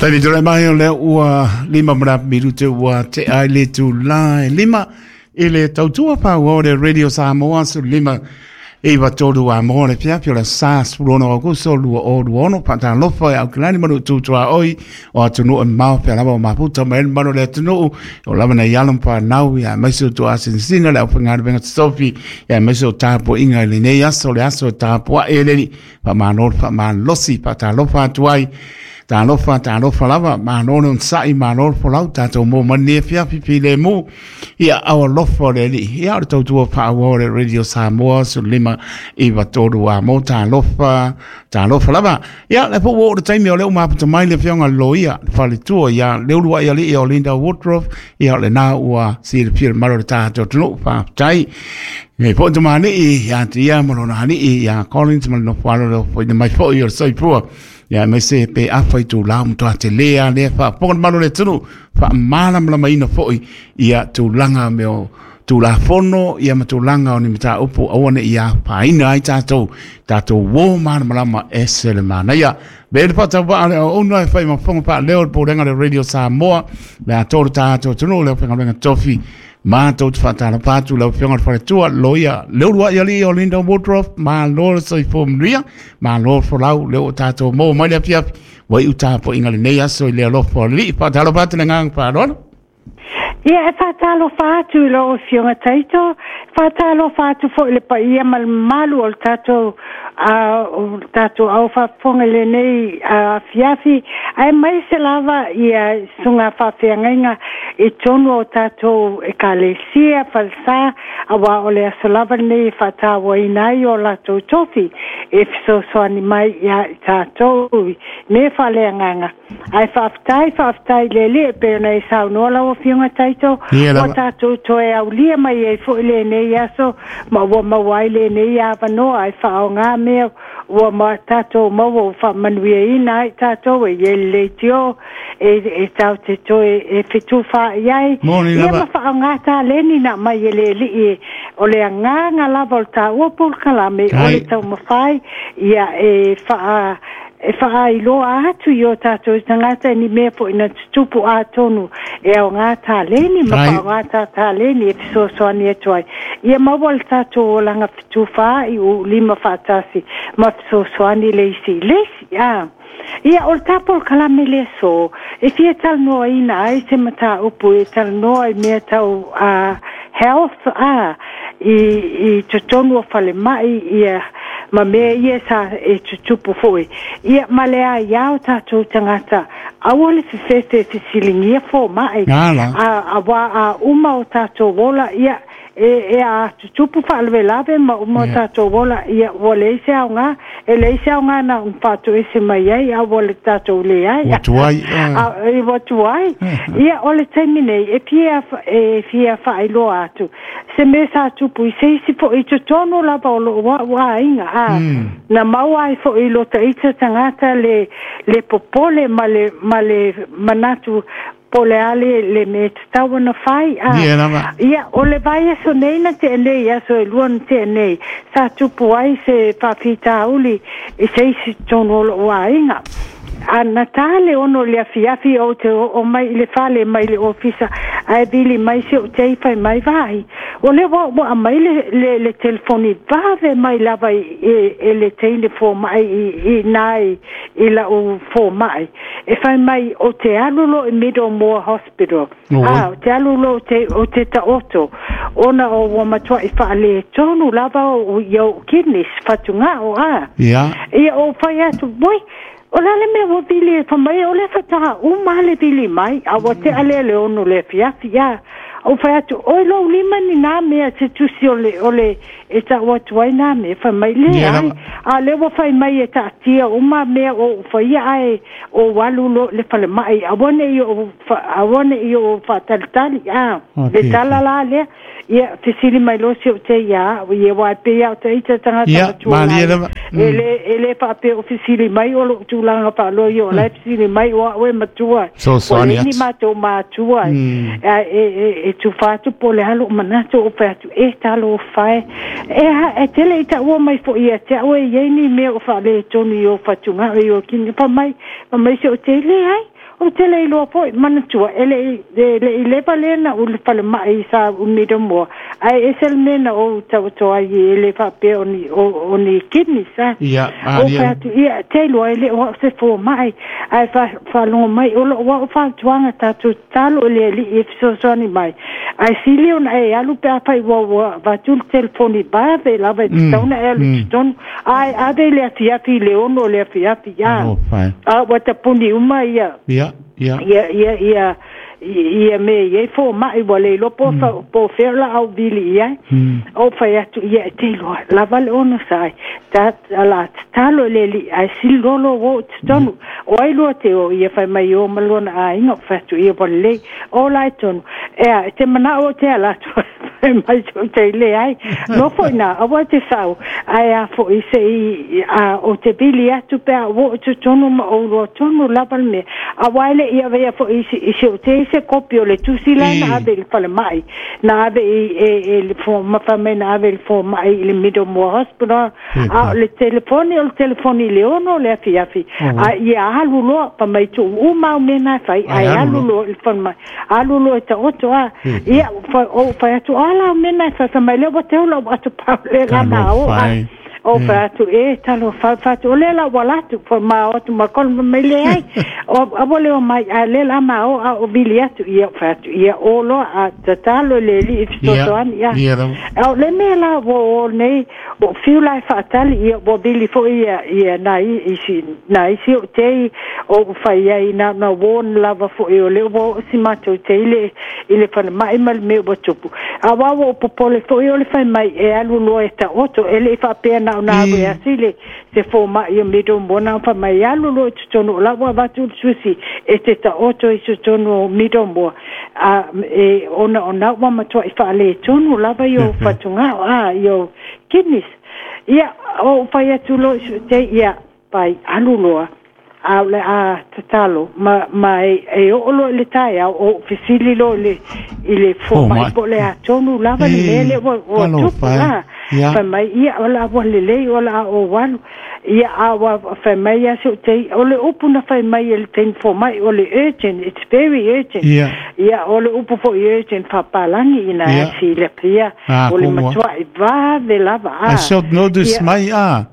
Taimi tulai mai o lea ua 5 ma le minute ua tea ai le itula e 5 i le tautua paua o le Radio Samoa 15 93 a mo le afiafi o le aso Sa 16 Aokuso 2026. Faatalofa e Aukilani ma Nu'u tuaoi o atunuu e mamao fea lava o mafuta mai ai le mamalu o le atunuu o lava nai alo ma fanau ia aemaise o tuuasinasina le aufaigaluega totofi ia aemaise o tapuaiga i lenei aso, le aso e tapuai e le Alii. Faamalo le faamalosi, faatalofa atu ai. Talofa, talofa lava, malo le onosai, malo le folau, tatou maua mai lenei afiafi filemu i aao alofa o le Alii. Ia, o le tautua faaauau o le Radio Samoa 1593 a mo talofa, talofa lava. Ia, le foi ua oo le taimi o lea ua mafuta mai le afioga i le loia, le faletua ia Leuluai Alii o Linda Woodruff. Ia, o lena ua silafia le mamalu o le tatou atunuu. Faafetai. E foi tamalii ia te ia ma lona alii ia Collins ma le nofo alo le ofoina mai foi o le soifua. Ia aemaise pe afa i tūlā o matua tele a lea faafofoga le mamalu o le atunuu, faamalamalamaina foi ia tulaga mea o Tulafono ia ma tulaga o ni mataupu aua ne i afaina ai tatou, tatou uo malamalama ese le manaia. Be le faatauvaa le auauna e fai ma fofoga faaleo o le Pulega o le Radio Samoa, le atoa o le tatou atunuu, le aufaigaluega tofi, matou te faatalofa atu lau Afioga i le Faletua, Loia Leuluai Alii o Linda Woodruff, malo le soifua manuia, malo le folau, lea ua tatou maua mai le afiafi, ua iu tapuaiga lenei aso i le alofa o le Alii. Faatalofa atu le agaga faaaloalo. Ia, e faatalofa atu i lau Afioga Taito, faatalofa atu foi i le paia ma le mamalu o le tatou o le tatou au faafofoga i lenei afiafi, aemaise lava ia susuga faafeagaiga i totonu o tatou ekalesia, falesa, aua o le aso lava lenei e faatauaina ai o latou tofi e fesoasoani mai ia i tatou i mea faaleagaga. Ae faafetai, faafetai i le Alii e pei ona e saunoa lau Afioga Taito, Ia ua lava. tatou toe aulia mai ai foi lenei aso ma ua maua ai lenei avanoa e faaaoga mea ua ma tatou maua ua faamanuiaina ai tatou e i ai le leitio e, e tatou te toe e fetufaai ai Moni ia lava. ma faaaoga taleni na aumai e le Alii e o le agaga lava o le taua polokalame o le Ai. taumafai ia e faa e faailoa atu i o tatou tagata ni mea foi na tutupu atonu e aoga taleni ma Ai. faaaoga ta taleni e fesoasoani atu ai. Ia maua le tatou olaga fetufaai u lima faatasi ma fesoasoani le isi i le isi. A. Ia, o le ta polokalame le aso, e fia talanoaina ai se mataupu e talanoa i mea tau health a i totonu o falemai ia ma mea ia sa e tutupu foi. Ia ma le aiā o tatou tagata, aua le fefefe e fesiligia fomai. Ala. A, auā a uma o tatou ola, ia e, e a tutupu faalavelave ma uma o tatou ola, ia ua leai se aoga, e leai se aoga na ona faatoese mai ai, a ua le tatou leai. Ua tuai. A, e ua tuai. Ia, o le taimi nei, e fia, e fia faailoa atu se mea sa tupu i se isi foi i totonu lava o lou a'u aiga a na maua ai foi i lo ita tagata le, le popole ma le, ma le manatu po o le a le, le mea e tatau ona fai a. Ia lava. Ia, o le vaiaso nei na tea nei, aso e lua na tea nei, sa tupu ai se faafitauli i se isi totonu o lou aiga. A na ta le 6 i le afiafi ou te oo mai i le fale mai le ofisa ae vili mai si ou tei fai mai vaai. O lea ua ua aumai le, le, le telefoni vave mai lava i, e, e le teine fomai i, i nā i, i lau fomai. E fai mai o te alu loa i Middlemore Hospital. Oi. A, o te alu loa o te, o te taoto ona o ua matuai faaletonu lava o, i ou kidneys, fatugao, a. Ia. Ia ou fai atu, oi, o le a le mea ua vili e fai mai, o lea faatoa uma lava le vili mai, a ua tea lea le 6 i le afiafi, a. Ou fai atu, oi lou lima ni nā mea se tusi o le, o le, e tau atu ai nā mea, fai mai, Ia leai, lava. a o lea ua fai mai e taatia uma mea o ou faia ae ou alu loa i le falemai, aua ne i ou, aua ne i ou faatalitali, a. Le Okay, tala okay. la lea, ia, fesili mai loa si ou te ia a'u, ia aua e pei lava o ita tagata Ia, matua malie la lava. e le e le faapea o fesili mai o lou tulaga faaloia o la e fesili mai o a'u e matua So ua soani leai ni atu. matou matua e, e, e, e tufa atu po o le a lou manatu ou fai atu e talofa e e, ha- e tele i taua mai foi ia te a'u e iai ni mea o faaletonu i o fatugao i o kini fai mai fai mai si ou te leai. O te le iloa foi manatua e le i leva lena o le falemai sa umi moa ai e se le mea na ou tauto ai e le faapea o ni kidneys a. Ia, O fai atu ia te iloa e le o au se fomai ae faalogo mai o loo au fautuaga tatou tatalo i le Alii e fesoasoani mai ae sili ona e alu pe afai ua avatu le telefoni vave lava e tatau ona e alu i totonu ae ave i le afiafi i le 6 o le afiafi a a ua tapuni uma ia Ia, ia. Ia ia ia ia me ia fo mai ua le iloa po po fea la au vili i ai. O fai atu ia e te iloa lava le ono sai ta ala tatalo i le Alii ae sili loa lou o i totonu. O ai lua te o ia fai mai o ma lona aiga o fai atu ia ua lelei o la e tonu. Ea e te manao o te ala atu fai mai sou te leai. Nofo i nā aua e te sau ae a foi se i a o te vili atu pe a ua o i totonu ma ou loa tonu lava le mea. Aua e le i avea foi i i si o te i se kopi o le tusi la na ave i le falemai na ave i e e le fo ma fai mai na ave i le fomai i le Middlemore Hospital a o le telefoni o le telefoni i le 6 o le afiafi a ia alu loa fai mai tuu uma au mea na e fai ae alu loa i le falemai alu loa e taoto a ia ou fai atu a la au mea na e fai fai mai lea ua teu lau atopau le la ma o a o fai atu e talofa fai atu o lea la ua alu atu fai ma o atu ma kola fai mai leai o aua le o mai a lea la ma o a o vili atu ia fai atu ia o loa a tatalo i le Alii e fesoasoani ia o le mea la ua o nei ua fiu la e faatali ia ua vili foi ia ia nai isi nai isi o tei o ua fai ai na na warn lava foi o lea ua oo si matou tei le i le falemai ma le mea ua tupu. Aua ua ou popole foi o le fai mai e alu loa e taoto e le i faapea na ona alu e asi le se fomai o Middlemore na ona fai mai e alu loa i totonu o la ua avatu le susi e te taoto i totonu o Middlemore a e ona ona ua matuai faaletonu lava i ou fatugao a i ou kidneys. Ia ou fai atu loa i sou tei ia pai alu loa a o le a tatalo ma ma e e oo loa i le taeao o ou fesili loa i le i le fomai po o le a tonu lava le mea lea ua ua tupu a. Fai mai ia o le a ua lelei o le a ou alu. Ia a ua fai mai ia si ou tei o le upu na fai mai e le teine fomai o le urgent it's very urgent. Ia o le upu foi urgent faapalagi ina silafia o le matuai vave lava a. A short notice mai a.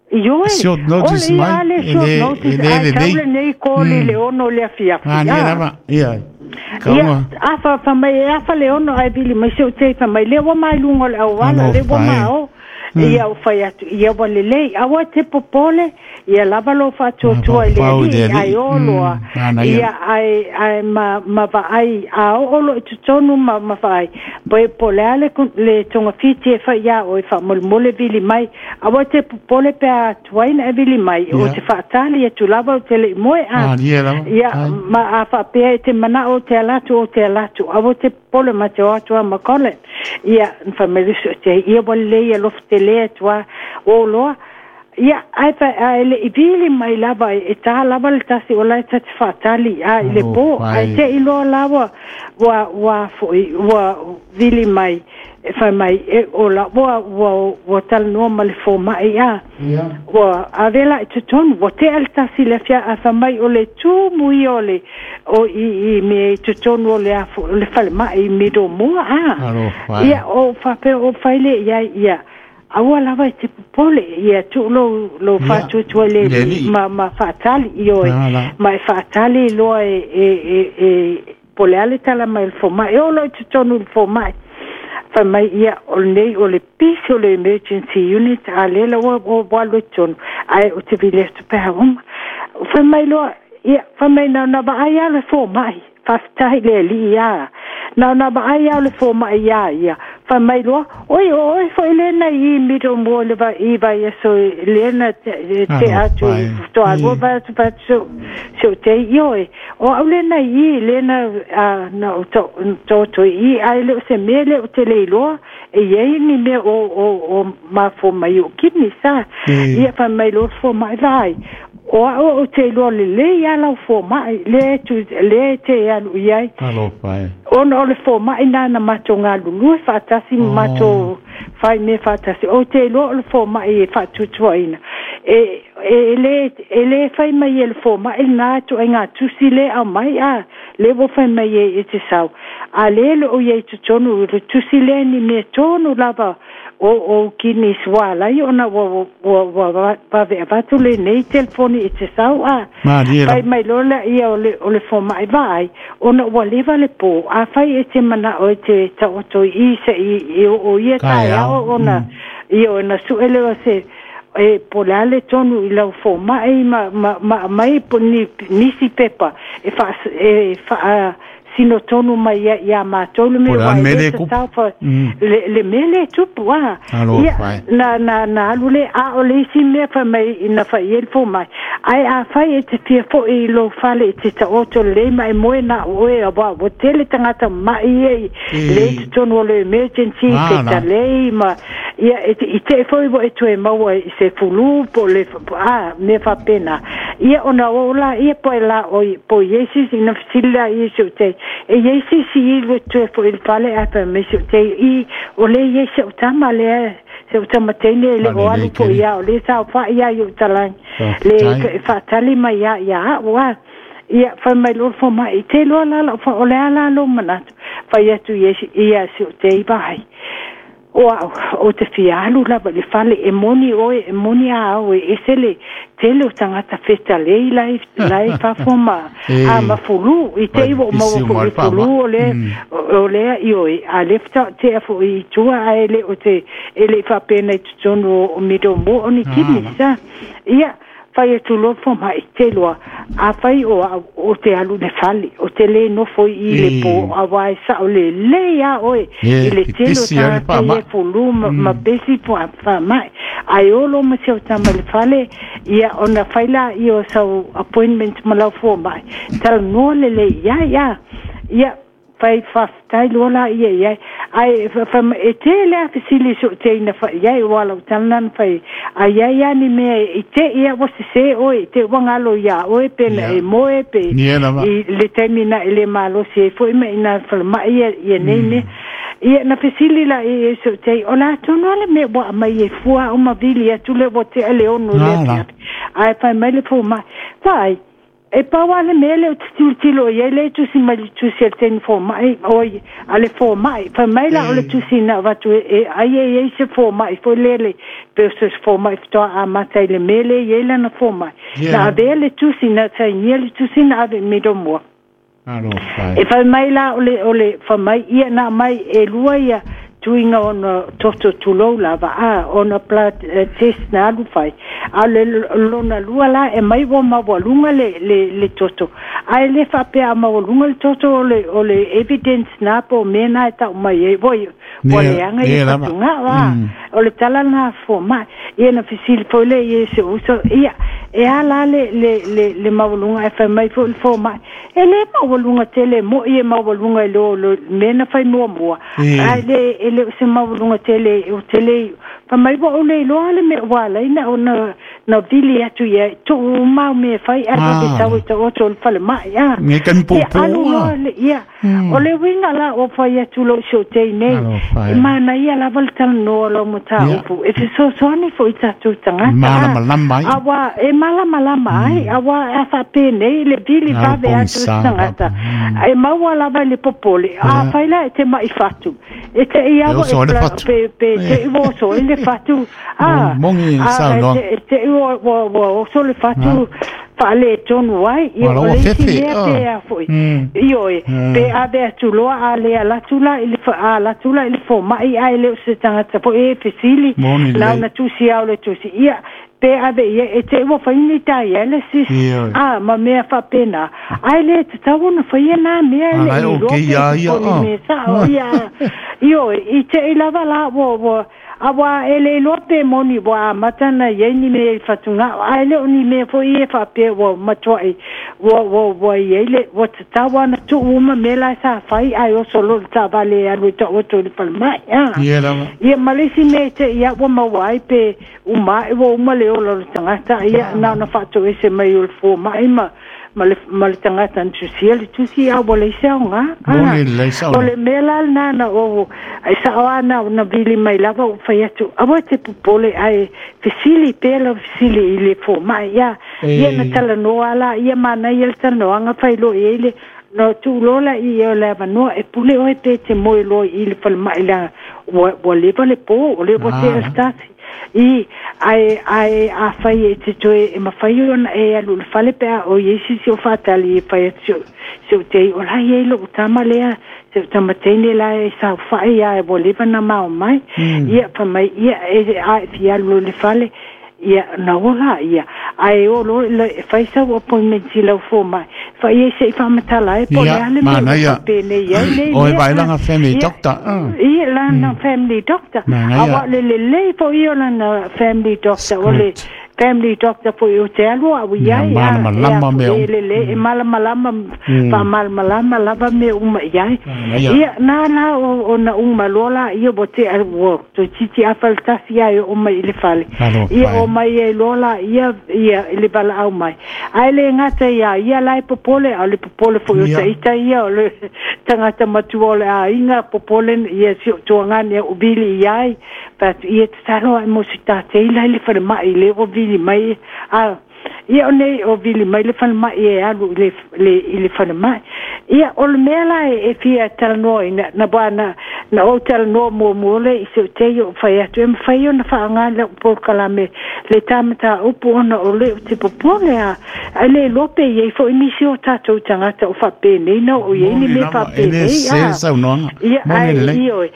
Ioe, Short o notice le mai, ia le e short le, e notice, le ae tau lelei. lenei koli le 6 o le afiafi, A nia a. lava, ia, Ia, kaunga. a fa fa mai e afa le 6 ae vili mai se o te fai mai lea ua mai luga o le auala, lea ua Alofa e. ma o. Ia o fai atu, ia ua lelei, aua te popole, ia lava lou faatuatua i le Mafaufau i le Alii, ae Alii. o loa. Manaia. Ia ae, ae ma, ma vaai, a oo loa i totonu ma, ma vaai, po, po o le a le, le togafiti e fai iā oe faamolemole vili mai, aua te popole pe a tuai ona e vili mai, o te faatali atu lava ou te le i moe a. Malie lava. Ia, Ai. ma a faapea e te manao o te ala atu, o te ala atu, aua te popole ma te o atu a ma Colin. Ia, na fai mai le uso o te ai, ia ua lelei alofa tele atu a, o loa. Ia, ae fa, ae le i vili mai lava, e tā lava le tasi o la e ta te faatali a i le po, Alofa ae e. te i loa la ua, ua, ua foi, ua vili mai, e fai mai, e o la, ua, ua, ua talanoa ma le fomai a. Ua ave la i totonu, ua tea le tasi le afia, a fai mai o le tumu ia o le, o i, i mea i totonu o le afo, o le falemai i Middlemore a. Alofa e. Ia, o faapea o fai le iai, ia, aua lava e te popole, ia tuu lou, lou faatuatua i le I le Alii Alii. ma, ma faatali ioe, La, la. ma e faatali loa e, e, e, e, po o le a le tala mai o le fomai, e oo loa i totonu i le fomai. Fai mai ia, o lenei o le pisi o le emergency unit, a lea la ua, ua, ua alu i totonu, ae ou te vili atu pe a uma. Fai mai loa, ia, fai mai na ona vaai lava le fomai, faafetai i le Alii ia. Na ona vaai lava le fomai iā ia, fai mai loa, oi, o oe foi lena i Middlemore i le vai, i vaiaso lena te, te atu Alofa e. toalua vai atu vai atu so, so te ioe. O au lena i lena a, na o to, to, to i, ai le o se mea le o te le iloa, e iai ni mea o, o, o mafua mai o kidneys a. Ia fai mai loa le fomai vaai. O au o te iloa lelei a lau fomai, lea e tu, lea e te alu i ai. Alofa e. Ona o le foma'i na na matou galulue faatasi ma matou fai mea faatasi. Ou te iloa o le foma'i e faatuatuaina. E le fai mai e le foma'i lena ituaiga tusi lea e aumai a lea ua fai mai ai e te sau. A lea e le o i ai i totonu o le tusi lea ni mea tonu lava o ou kidneys ua ala ai ona ua vave avatu lenei telefoni e te sau a. Fai mai loa lea o le foma'i vaai ona ua leva le po. Afai e te mana'o e te taoto i i se'i e oo ia taeao ona ia ona su'e lea o se e po o le a le tonu i lau foma'i ma aumai nisi pepa e faa sino tonu mai ia matou le mea ua e le tatau fa le mea lea e tupu a. Ia na alu le a o le isi mea fai mai na fai ai le foma'i. Ae afai e te fia fo'i i lou fale e te taoto lelei ma e moe na oe auā ua tele tagata ma'i ia i le i totonu o le emergency fetalei ma ia i te'i foi ua e toe maua i se fulu po o le a mea faapena. Ia ona oo laia po e la po i ai se isi na fesili laia i si ou tei e i ai se isi i le toe fo'i i le fale ae fai mai si ou tei i o lea i ai si au tama lea si au tama teine e le o alu fo'i ia o lea saofa'i ia i ou talagi le faatali mai ia ia a'u a. Ia fai mai loa le foma'i te iloa la la'u o le a la lou manatu fai atu ia si ou tei vaai. O a'u o te fia alu lava i le fale e moni oe e moni a au e ese le tele o tagata fetalei la e fafo ma a ma fulu i te i ua ou maua fo'i i le fulu o lea o lea ioe a lea faatoa fo'i i tua ae le o te e le i faapena i totonu o Middlemore o ni kidneys a. Ia fai atu loa le foma'i te iloa afai o a'u o te alu i le fale o te lē nofo i i le po auā e sa'o lelei a oe i le tele o tagata ia e fulu ma pesi faama'i ae olo ma si au tama i le fale ia ona fai laia o sau appointment ma lau foma'i talanoa lelei i ai a. Ia fai faafetai loa laia i ai ae fai mai e tele lava fesili i so'u teina fai i ai ua lau tala lena na fai ai a i ai lava ni mea i te'i a ua sesē oe i te ua galo iā oe pe na e moe pe i le taimi na e lē malosi ai fo'i ma ina falema'i ia nei mea. Ia na fesili laia i so'u tei o le a tonu a le mea ua aumai ai fua a'u ma vili atu lea ua te'a le 6 i le afiafi ae fai mai le foma'i vaai e pau lava le mea lea ou te tilotilo i ai lea e tusi mai le tusi a le teine foma'i oi a le foma'i fai mai la o le tusi na avatu e ai e i ai se foma'i foi lea le pe o se foma'i faatoa amata i le mea lea e i ai lana foma'i na avea le tusi na sainia le tusi na ave i Middlemore. E fai mai la o le o le fai mai ia na aumai e lua ia tuiga ona toto tulou lava a ona blood test na alu fai a o le lona lua la e mai ua maualuga le le le toto ae le faapea a maualuga le toto o le o le evidence na po o mea na e tau mai ai ua ua leaga ia fatugao a o le tala lena a foma'i. Ia na fesili foi lea i si ou uso ia e a la le le le le maualuga ae fai mai foi le foma'i e lē maualuga tele e mo'i e maualuga i lo le mea na fai muamua ae le e le o se maualuga tele o tele fai mai ua ou le iloa le mea ua ala ai na ona na vili atu i ai tuu uma au mea e fai ae vave sau e taoto i le falema'i a. Ia alu loa le ia o le uiga la ua fai atu lou si ou tei nei e manaia lava le talanoa o lau mataupu e fesoasoani foi i tatou tagata a auā e malamalama ai auā a faapenei le vili vave atu o se tagata e maua lava i le popole afai la e te ma'i fatu e te'i lava e pe pe te'i ua oso ai le fatu a a te'i ua oso le fatu faaletonu ai ia o le isi mea pe a foi ioe pe ave atu loa a le alu atu la i le a alu atu la i le foma'i ae le o se tagata foi e fesili na ona tusi lava o le tusi ia pe ave i ai e te i ua fai ni dialysis a ma mea faapena ae le tatau ona faia na mea e le i iloa pe o ni mea sa'o ia ioe i te i lava la ua Auā e le iloa pe moni ua amata ona i ai ni mea i fatugao, ae le o ni mea foi ia e faapea ua matuai ua ua ua i ai le ua tatau lava ona tuu uma mea la sa fai ae oso loa le taavale e alu e taoto i le falemai a. Ia lava. Ia ma le isi mea e te i a ua maua ai pe uma ae ua uma le ola o le tagata, ia na ona faatoese mai o le fomai ma ma le tagata na tusia le tusi a ua leai se aoga. Moni lelei sao. O le mea la lena na ou ai sao lava na ona vili mai lava ou fai atu, aua e te popole ae fesili pea lau fesili i le fomai. Ia, ia na talanoa lava la ia manaia le talanoaga fai loa i ai le na tuu loa la i o le avanoa e pule oe pe te moe loa i le falemai leaga ua leva le po, o lea ua tea le tasi. I, ae, ae afai e te toe, e mafai ona e alu i le fale pe a o i ai se isi o faatali e fai atu si ou, si ou tei, o la e i ai lou tama lea, si ou tama teine la e saofai a ua leva ona mao mai. Ia, fai mai, ia, e, a e fia alu loa i le fale, Ia, na ola ia, ae o loa e fai sau appointment i lau fomai, fai ai se i faamatala ai po o le a le mea ua faapenei ai nei mea. Oi vaai lana family doctor. Ia, lana family doctor. Aua o le lelei foi ia o lana family doctor, o le family doctor foi ou te alu au i ai, malamalama mea uma. E lelei, e malamalama, faamalamalama lava mea uma i ai. Ia, na la ona uma loa laia ua tea, ua toeitiiti afa le tasi ae oo mai i le fale. Ia oo mai ai loa laia ia i le valaau mai. Ae le gata ia ia la e popole, a o le popole foi o ita ia o le tagata matua o le aiga, popole ia si ou tuagane au vili i ai. Fai atu, ia tatalo ae mo se tatei la i le falemai lea ua vili mai. A Ia o nei o vili mai le falemai e alu i le, le, i le falemai. Ia, o le mea la e, e fia talanoaina, na wā na, na ou talanoa muamua lea i si ou teine ou fai atu, e mafai ona faaaoga lau polokalame le ta mataupu ona o le ou te popole a, ae le iloa pe i ai foi nisi o tatou tagata o faapenei na oo i ai ni mea faapenei. A, saunoaga. Ia, ae, ioe,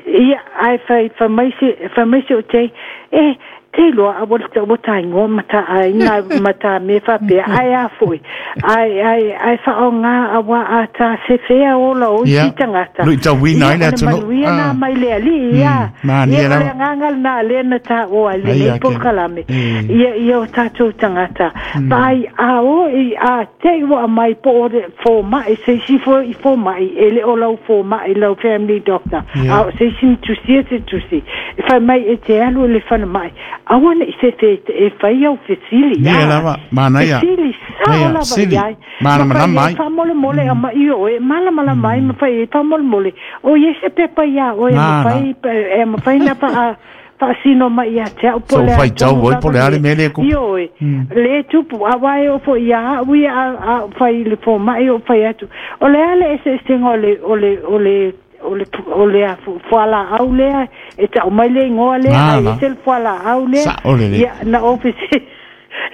ia, ae fai, fai mai se, fai mai si ou teine, e, Te iloa a ua ua ta igoa ma ta aiga ma ta mea faapea, ae a foi, ae, ae, ae faaaoga auā a ta sefea ola o isi tagata. Luitauina ai le atunuu. Ia, o le manuia na mai le Alii, ia. Ia, o le agaga lena lea na taua ai lenei polokalame, ia, ia o tatou tagata. Vaai, a o i, a te i ua aumai po o le fomai, se isi foi i fomai, e le o lau fomai, lau family doctor, a o se isi na tusia se tusi, e fai mai e te alu i le falemai, aua ne i fefe e fai au fesili. Ia lava, manaia. Fesili sao lava i ai. Malamalama ai. Faamolemole aumai oe, malamalama ai ma fai ai faamolemole. O i ai se pepa iā oe e mafai, e mafai na faa faasino mai ia te au po o le a tonu lava po le a le mea lea e tupu. Ioe, le tupu, aua e oo foi ia au ia a ou fai i le fomai ou fai atu, o le a le eseesega o le, o le, o le o le, o le fualaau lea e tau mai le igoa lea, ae ese le fualaau lea. Sao lelei. Ia, na ou fesili,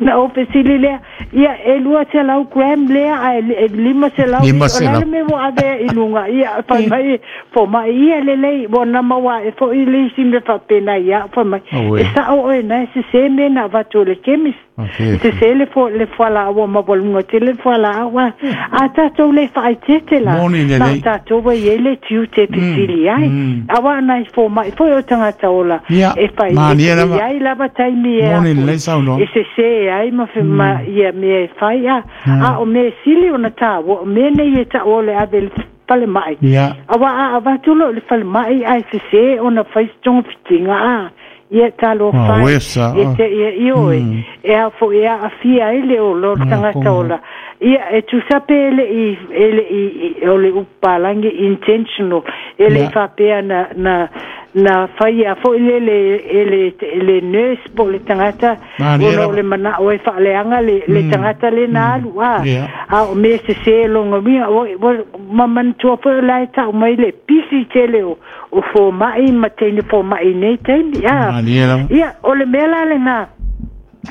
na ou fesili lea, ia, e 200 gram lea, ae 500, o le a le mea ua ave ai i luga? Ia, fai mai, fomai, ia lelei, ua na maua ae foi le isi mea faapena ia au, fai mai, e sao oe na e sese mea na avatu e le chemist. Sese le le fualaau ua maualuga tele le fualaau a a tatou le faaeteete la na o tatou ua i ai le tiute e fesili ai aua nai fomai foi o tagata ola e fai e i ai lava taimi e e sese ai ma ma ia mea e fai a a o mea sili ona taua o mea nei e taua o le ave i le falemai aua a avatu loa i le falemai ae sese ona fai se togafitiga a Ia talofa e, e te ia ioe, e ao foi e aafia ai le ola o le tagata ola. Ia, e tusa pe e le i, e le i, o le upu palagi intentional, e le i faapea na, na, na faia foi lele e le, e le nurse po o le tagata, ona o le manao e faaleaga le, le tagata lea na alu, a, a o mea sese lona uiga, ua, ma manatua foi o la e tau mai le pisi tele o, o fomai ma teine fomai i nei taimi. A, Malie lava. ia, o le mea la lena,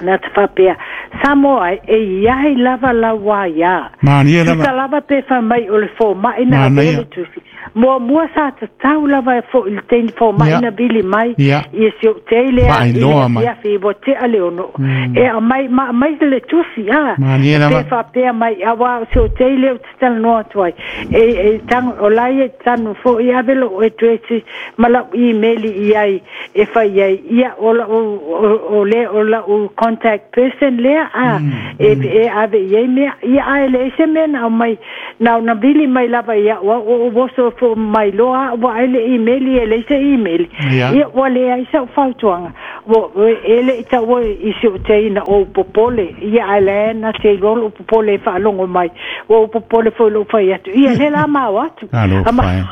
na te faapea, Samoa e, e i ai lava lau aia. Malie lava. Tusa lava pe fai mai o le fomai na avea le tusi. Muamua sa tatau lava e foi le teine fomai na vili mai ia si ou tei lea i le afiafi ua tea le ono. E aumai, ma aumai le tusi, a. Malie lava. Pe faapea mai, aua o si ou tei lea ou te talanoa atu ai. E, e tango, o la ia e tanu foi, ave lou address ma lau email i ai e fai ai, ia, o lau, o, o le, o lau contact person lea, a, e, e ave i ai mea. Ia, ae leai se mea na aumai, na ona vili mai lava iaʻu au, o ou oso fo mai loa au, ua ai le email, e leai se email. Ia, ua leai sau fautuaga. E le'i taua i si ou tei ina ou popole, ia ae la e na te iloa lou popole e faalogo mai, ua ou popole foi i lou fai atu, ia lea la ma o atu. Talofa e.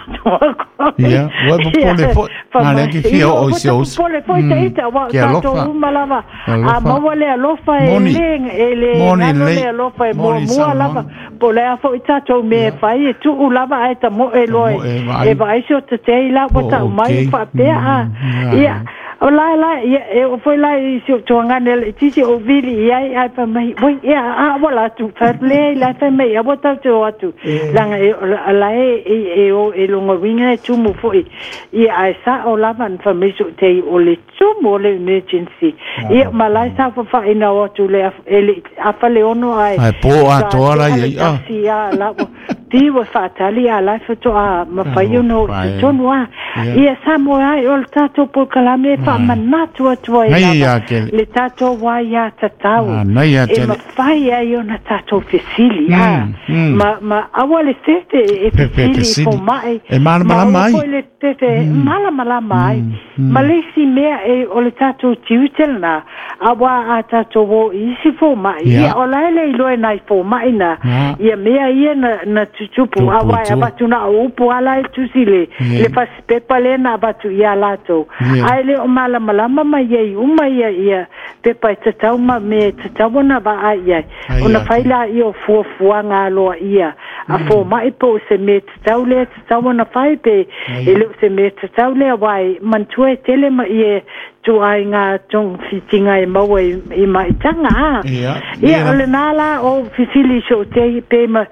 Ia, ua e popole foi, a lea ke fia oo i si ou uso. Popole foi ita, aua o Ke alofa. tatou uma lava, Ke a alofa. maua le alofa e Moni. le, e le Moni galo lelei. le alofa e Moni muamua saunoaga. lava, po o le a foi tatou mea e fai, e tuu lava ae tamoe loa Tamoe e e vaai. vaai se o tatei la ua Po tau mai okay. faapea a. Ia, o la la, ia, e oo foi la i si ou tuagane laitiiti ou vili i ai, ae fai mai, oi, ia, a ua la atu, fai atu, leai, la e fai mai, aua tatou te o atu, leaga e, o la e, e, e o e lona uiga e tumu foi, ia, ae sa'o lava na fai mai so'u tei, o le tumu o le emergency, ia, ma la e saofafa'ina o atu le, e le 5:30 ae, Ae po sa atoa la te'a i le ai, ah. taxi a la ua tiu e fa'atali a la e fato'a mafai ona oo i Talofa e. totonu a. Ia. Ia sa moe ai o le tatou polokalame e fa'amanatu atu ai Nai lava ia kele. le tatou aiā tatau Ah, nai ia e tele. mafai ai ona tatou fesili a ma ma aua le fefe e Fefe fesili i fesili. foma'i E ma malamalama aua ai. foi le fefe malamalama ai ma le isi mea e o le tatou tiute lenā auā a tatou o i isi foma'i Ia. ia o la e le iloa e nai foma'i na Ah. ia mea ia na na tutupu Tupu auā e tua. avatu na o upu ala e tusi le Ia. le fasipepa lea na avatu iā latou Ia. ae le o malamalama mai ai uma ia ia pepa e tatau ma mea e tatau ona vaai i ai Ai ona ia fai te. la ia o fuafuaga aloaia a foma'i po o se mea tatau lea tatau ona fai pe Ai e ia. le o se mea tatau lea auā e manatua e tele ma ia tuaiga togafitiga e maua i i maitaga a Ia. ia Ia. o lenā la o fesili i so'u tei pe ma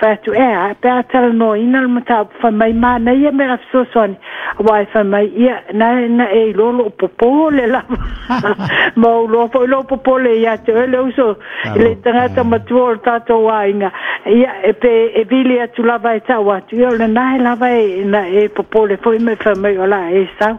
fai atu e a pe a talanoaina le mataupu fai mai manaia me a fesoasoani auā e fai mai ia na na e iloa lo'u popō le lava ma ou loa foi lou popole iā te oe le uso i le Talofa tagata e. matua o le tatou aiga ia e pe e vili atu lava e ta'u atu ia o lenā e lava e na e popole foi ma e fai mai o la e sau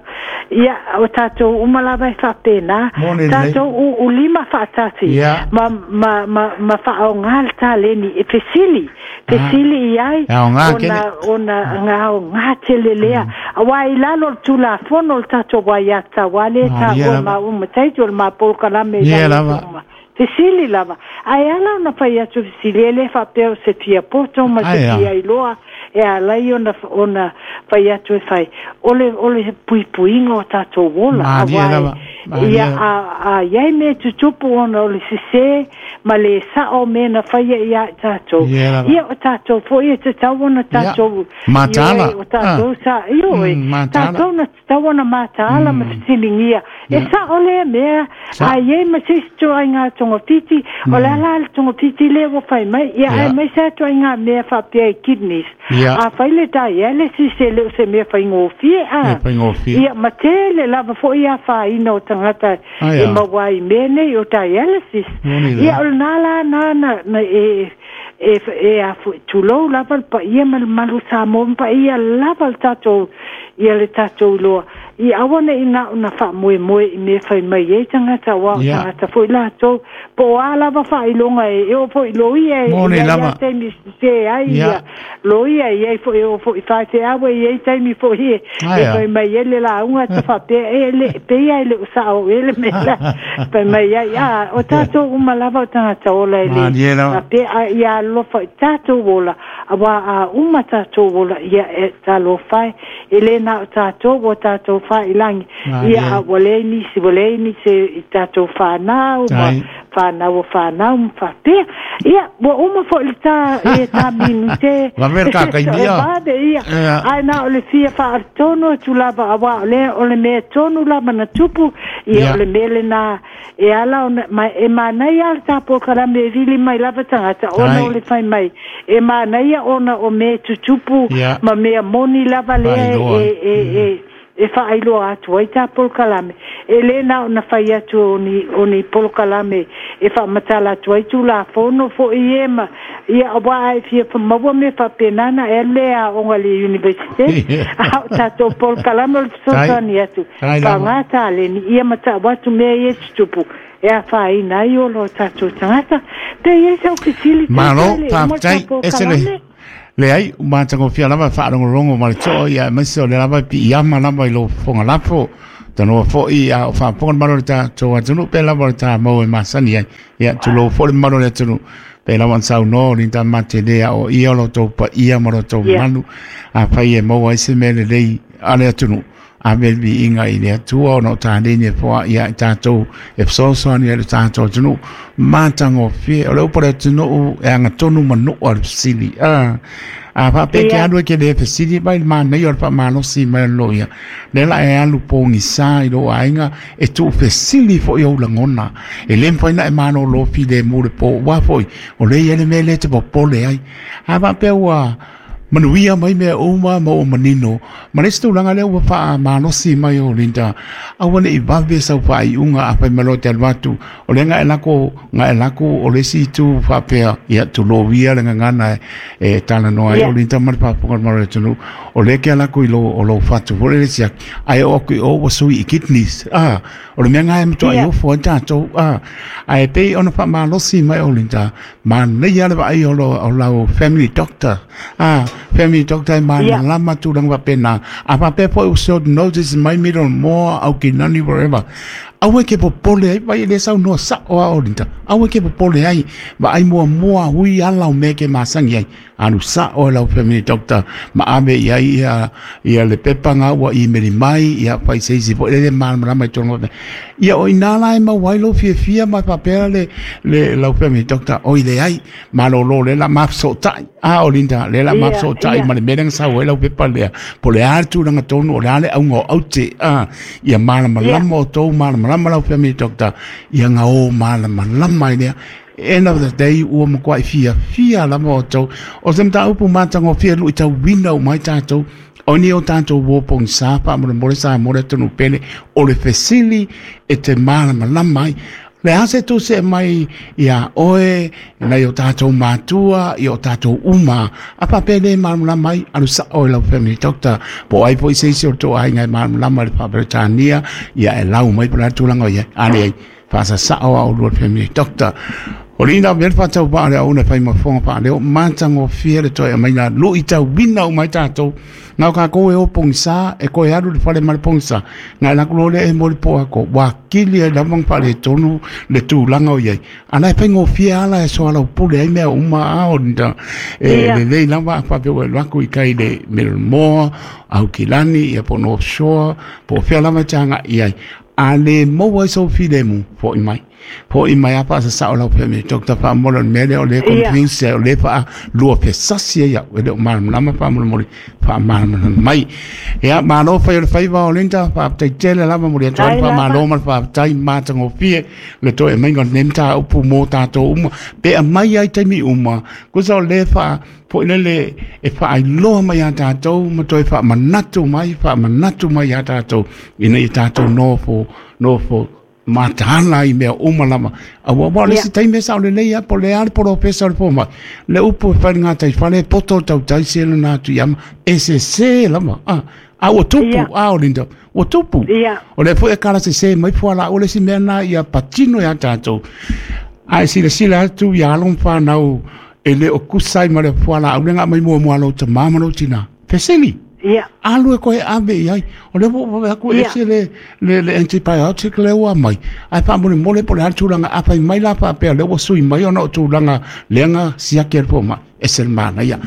ia o tatou uma lava e fa'apēnā Moni lelei. tatou u'ulima fa'atasi Ia. ma ma ma ma fa'aogā le taleni e fesili fesili i ai E aogā ona kele. ona gaogā tele lea auā i lalo o le tulafono o le tatou aiā tatau lea Ah, ia taua lava. ma uma taiti o le mapolokalame i Ia lalo lava. uma fesili lava ae ala ona fai atu fesili e lē fa'apea o se fia poto ma se Ai a. fia iloa e alai ona ona fai atu e fai o le o le puipuiga o tatou ola Malie auā lava. Malie ia lava. a a iai mea tutupu ona o le sesē ma le sa'o mea na faia iā i tatou Ia lava. ia o tatou fo'i e tatau ona Ia. tatou Mataala. ioe o tatou Ah. sa ioe Mataala. tatou na tatau ona mataala ma fesiligia e sa'o lea mea Sa. a iai ma se isi toaiga togafiti o le ala le togafiti lea ua fai mai ia Ia. ae mai sa toaiga mea faapea i kidneys Ia. a fai le dialysis e le o se mea faigofie a E faigofie. ia ma tele lava fo'i afaina o tagata Ai e a. maua ai mea nei o dialysis Moni lea. ia o lenā la na na na e e e a fo'i tulou lava le paia ma le malu Samoa ma paia lava le tatou ia le tatou iloa ia aua ne'i na ona fa'amoemoe i mea fai mai ai tagata auā o Ia. tagata foi latou po o a lava fa'ailoga e e oo fo'i loia e Moni i ai lava. a taimi sesē ai Ia. ia loia e iai fo'i e oo fo'i faifeau e iai taimi fo'i e Ai e a. fai mai ai le lauga ta fa'apea e le peia e le o sa'o e le mea la fai mai ai a o tatou uma lava o tagata ola e le Malie lava. faapea a ia alofa i tatou ola auā a uma tatou ola ia e talofa e e lē na o tatou ua tatou fa'ilagi Malie. ia a ua leai nisi ua leai nisi i tatou fanau ma Ai. fanau o fanau ma fa'apea ia ua uma fo'i le tā e tā minute Vave le kakaimia. e vave ia Ia. ae na o le fia fa'atonu atu lava auā o lea o le mea tonu lava na tupu ia Ia. o le mea lenā e ala ona ma e manaia le tapolokalame e vili mai lava tagata ona Ai. o le fai mai e manaia ona o mea tutupu Ia. ma mea moni lava lea Faailoa. e e e e fa'ailoa atu ai tā polokalame e lē na ona fai atu o ni o ni polokalame e fa'amatala atu ai tulafono fo'i e ma ia auā ae fia maua mea fa'apena na e alu lea aoga le universite a o tatou polokalame o le fesoasoani atu Tai lava. fa'agā taleni ia ma ta'u atu mea ia tutupu e afaina ai ola o tatou tagata pe iai sau fesili Malo, tatou le uma le faafetai, tā ese le polokalame leai, ua matagofia lava faalogologo ma le to'o ia aemaise o le lava piiama lava i lou fofoga lafo. Tanoa foi a o faafofoga le mamalu o le tatou atunuu pe lava o le tamau e masani ai. Ia tulou foi le mamalu o le atunuu pe lava ona saunoa o Linda Matele a o ia o lo outou paia ma lo outou mamalu. Afai e maua ai se mea lelei a le atunuu, ave le viiga i le Atua ona o taleni e foai ia i tatou e fesoasoani ai i le tatou atunuu. Matagofie, o le upu a le atunuu e agatonu manua le fesili. A faapea e te alu e te le fesili mai le manaia o le faamalosi mai o le loia, lea la e alu pogisa i lou aiga e tuufesili foi ou lagona. E le mafai ona e malolo filemu le po, aua foi o lea e i ai le mea lea e te popole ai. A faapea ua manuia mai mea uma ma ua manino, ma le isi tulaga lea ua faamalosi mai o Linda, aua ne i vave sau faaiuga afai mai loa e te alu atu, o lea na e lako, na e lako o le isi itu faapea, ia tulou ia le gagana e talanoa ai o Linda ma le faafofoga a le mamalu o le atunuu, o lea e te alu atu i lou, o lou fatu foi lele siaki, ae oo atu i o ua sui i kidneys, o le mea lena e matuai ofo ai tatou, ae pei ona faamalosi mai o Linda, manaia le vaai o lau family doctor, family doctor e malamalama tulaga faapena, a faapea foi ua short notice mai Middlemore, Aukilani, whatever, aua e te popole ai, vai e le saunoa sao lava o Linda, aua e te popole ai, vaai muamua hui ala o mea e te masani ai, alu sao e lau family doctor ma ave i ai ia le pepa na ua imeli mai, ia fai se isi foi lele malamalama i totonu. Ia o i ina la e maua ai lou fiafia ma faapea le lau family doctor, oi leai, malolo lea la mafesootai. A o Linda, lea la mafesootai ma le mea lea na sau ai lau pepa lea, po o le a le tulaga tonu, o le a le auga o aute, ia malamalama outou, malamalama lau family doctor, ia gao malamalama ai lea. End of the day, ua matuai fiafia lava outou. O se mataupu matagofie luitauina uma ai tatou, o ni o tatou uo pogisa faamolemole Samoa le atunuu pele, o le fesili e te malamalama ai. Le a se tusi e mai iā oe, nai o tatou matua, i o tatou uma, a faapea le malamalama ai, alu sao i lau family doctor, po o ai foi se isi o le tou aiga e malamalama i le faa-Peretania, ia e lau mai po o le a le tulaga o i ai. A leai, faasasao a oulua le family doctor. O lina mea le faatauvaa le auna e fai ma fofoga faaleo, matagofie le toe aumaiga luitauina uma ai tatou. Na o tatou e o pogisa, e toe alu i le fale ma le pogisa, na e alu atu loa lea e moe i le po atoa, ua kili ai lava ona faaletonu le tulaga o i ai. A la e faigofie lava la e soalaupule ai mea uma a o lina, e lelei lava a faapea ua e alu atu i tai i le Middlemore, Aukilani, ia po o North Shore, po o fea lava e te agai i ai. A le maua ai sou filemu, foi mai. Foi mai a faasasao lau family doctor faamolemole o le mea lea o lea e confuse ai, o lea e faaluafesasi ai au, e le o malamalama faamolemole, faamalamalama mai. Ia, malo fai o le faiva o Linda, faafetai tele lava, momoli atu ai le faamalo ma le faafetai matagofie le toe aumaiga o lenei mataupu mo tatou uma. Pe aumai lava i taimi uma, tusa o lea e faa foi lele e faailoa mai iā tatou ma toe faamanatu mai, faamanatu mai iā tatou ina ia tatou nofo, nofo mataala i mea uma lava. Aua aua o le isi taimi e sao lelei lava po o le a le polofesa o le fomai, le upu e fai i le gataifale e poto le tautai se lona atu i ama, e sese lava. A ua tupu, a o Linda, ua tupu. O lea foi e kala sese mai fualaau, o le isi mea lena ia patino iā tatou. A e silasila atu i alo ma fanau e le o tusa ai ma le fualaau lea na aumai muamua a lou tamā ma lou tinā. Fesili. Alu e koe ave i ai. O lea ua ou vaai atu e ese le antibiotic lea ua aumai, ae faamolemole po o le a le tulaga, a fai mai la faapea o lea ua sui mai ona o tulaga lea na siaki e le fomai, ese le manaia.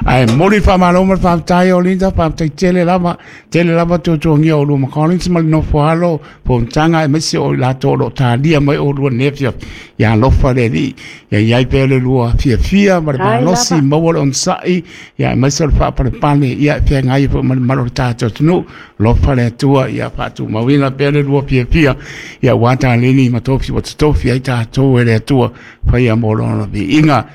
Ae momoli le faamalo ma le faafetai o Linda, faafetai tele lava, tele lava tuatuagia o oulua ma Collins ma le nofo alo, fonotaga aemaise o i latou o lo o talia mai oulua i lenei afiafi. Ia alofa le Alii, ia i ai pea le lua fiafia ma le malosi, maua le onosai, ia aemaise o le faapalepale, ia e feagai ai foi ma le mamalu o le tatou atunuu. Alofa le Atua, ia faatumauina pea le lua fiafia, ia aua taleni ma tofi ua totofi ai tatou e le Atua, faia mo lona viiga.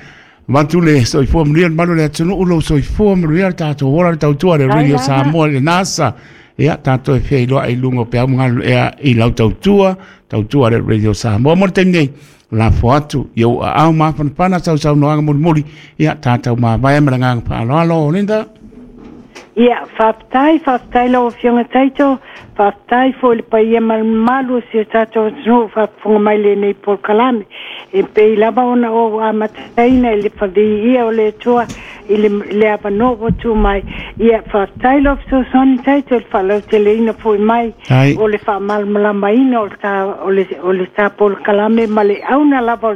Avatu le soifua manuia le mamalu o le atunuu, lou soifua manuia le tatou ola, le tautua le Radio Samoa i le NASA. Ia, tatou e feiloai i luga o peau ma galuea i lau tautua, tautua le Radio Samoa. Mo le taimi nei, lafo atu i ou aao mafanafana sausaunoaga mulimuli, ia, tatou mavae ma le agaga faaaloalo. Linda? Ia, faafetai, faafetai lau Afioga Taito, faafetai foi i le paia ma le mamalu o si o tatou atunuu o faafofoga mai i lenei polokalame. E pei lava ona ou amataina i le faviia o le Atua i le avanoa ua tu mai. Ia, faafetai lau fesoasoani Taito i le faalauteleina foi mai o le faamalamalamaina o le ta polokalame ma le auna lava.